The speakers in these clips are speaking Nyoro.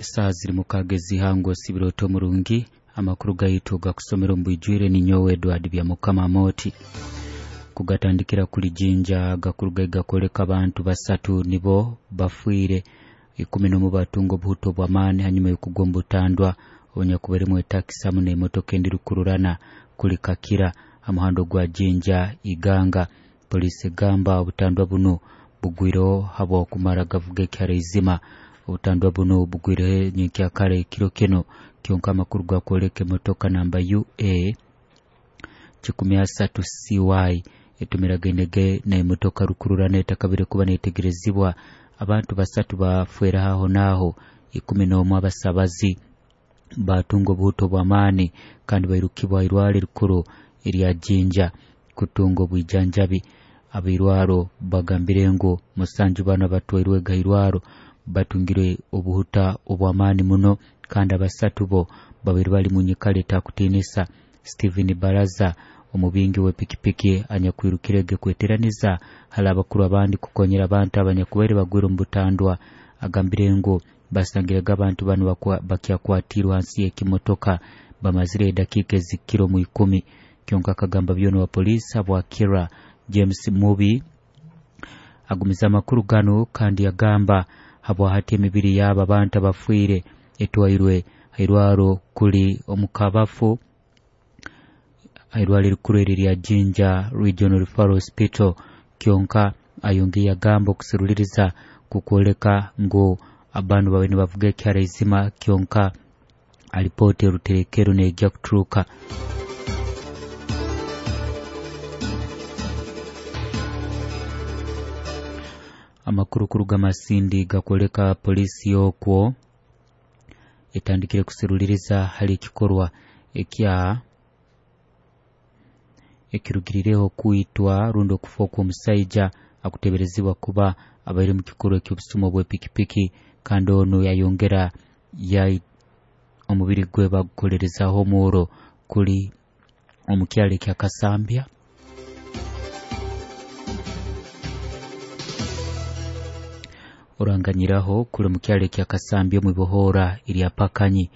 Esaaha ziri mukaaga ez'ihango osibire omurungi amakuru gaitu gakusomera omu bwijwire ninyowe Edward Byamukama Amoti. Kugatandikira kuli Jinja gakuruga gakwoleka abantu basatu nibo bafiire 11 batunga obuhuto bw'amaani hanyuma y'okugwa omu butandwa obunyakubairemu etakisi hamu n'emotoka endi rukururana kuli Kakira ha muhanda ogwa Jinja Iganga. Poliisi egamba obutandwa bunu bugwireho habw'okumara gavuga ekiharaizima. Obutandwa bunu bugwireho nyenkyakara ekiro kinu kyonka amakuru gakwoleka emotoka namba UA 13 CY etumiragainege n'emotoka rukururana etakabire kuba netegerezibwa. Abantu basatu bafwera aho naaho, 11 abasabazi batunga obuhuto bw'amaani kandi bairukibwa irwaro erikuru erya Jinja kutunga obwijanjabi. Abairwaro bagambire ngu 7 banu abatwairwe gairwaro batungire obuhuta obw'amaani muno kandi abasatu bo babiri bali mu nyikara etakutiinisa. Stephen Baraza omubingi w'epikipiki anyakwirukirege kweteraniza hali abakuru abandi kukonyera abantu abanyakubaire bagwire omu butandwa agambire ngu basangirege abantu banu bakyakwatirwe hansi y'ekimotoka bamazire edakiika ezikiro mu 10. Kyonka akagamba byona wa poliisi habwakira James Mubi agumiza amakuru ganu kandi yagamba habwahati emibiri y'abo abantu abafiire etwairwe hairwaro kuli omukabafu hairwaro erikuru eri rya Jinja Regional Referral Hospital. Kyonka ayongeye yagamba okuseruliriza kukwoleka ngu abantu babaire nibavuga ekiharaizima kyonka alipoota eruterekero neija kuturuka. Amakuru kuruga Masindi gakwoleka poliisi y'okwo etandikire kuseruliriza hali ekikorwa ekya ekirugirireho kwitwa rundi okufa okw'omusaija akuteberezibwa kuba abaire mu kikorwa eky'obusuma bw'epikipiki kandi onu yayongera omubiri gwe bagukolerezaho omuuro kuli omu kyaro ekya Kasambya. Oranganyiraho kuli omu kyaro ekya Kasambya omu ibohoora erya Pakanyi.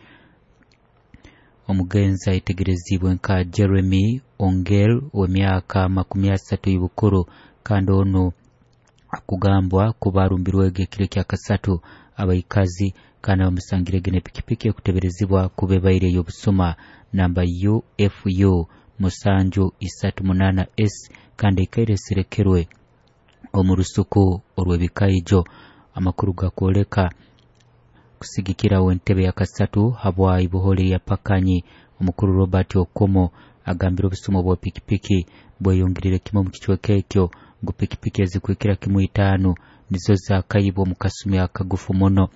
Omugenzi ayetegerezibwe nka Jeremy Ongel ow'emyaka 30 y'obukuru kandi onu akugambwa kuba arumbirwege ekiro ekya kasatu abaikazi kandi bamusangirege n'epikipiki ekuteberezibwa kuba ebaire ey'obusuma namba UFU 738 S kandi ekaire eserekerwe omu rusuku orw'ebikaijo. Amakuru gakwoleka kusigikiraho entebe ya kasatu habwa ibohora erya Pakanyi omukuru Robert Okomo agambire obusuma bwa pikipiki bweyongerire kimwe omu kicweka ekyo ngu pikipiki ezikwikira kimwe 5 nizo zakayibwa omu kasumi akagufu muno.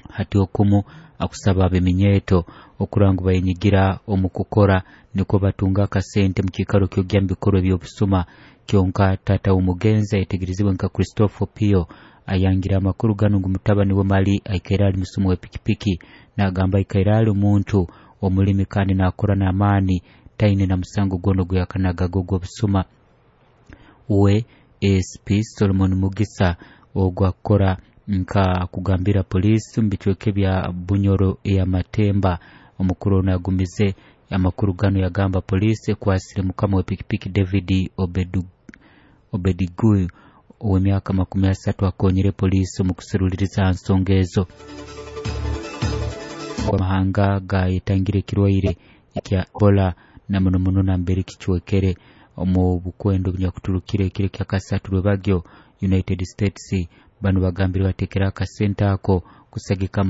Hati Okomo akusaba abeminyeeto okurora ngu bayenyigira omu kukora nikwo batunga akasente mu kiikaro ky'ogya mu bikorwa eby'obusuma. Kyonka taata w'omugenzi ayetegerezibwe nka Christopher Pio ayangira amakuru ganu ngu mutabani we Mali aikaire ali musuma w'epikipiki. Nagamba aikaire ali omuntu omulimi kandi nakora n'amaani taine na musango gwona oguyakanagaga ogw'obusuma. We ASP Solomon Mugisa ogwo akukora nka kugambira poliisi omu bicweka ebya Bunyoro ey'Amatemba. Omukuru ono agumize amakuru ganu yagamba poliisi ekwasire mukama w'epikipiki David Obediguyu ow'emyaka 30 akonyere poliisi omu kuseruliriza ha nsonga ezo. Amahanga gayetangire ekirwaire ekya Ebola na muno muno nambere kicwekere omu bukwendo obunyakuturukire ekiro ekya kasatu rwebagyo United States banu bagambire batekere akasente ako kusagika.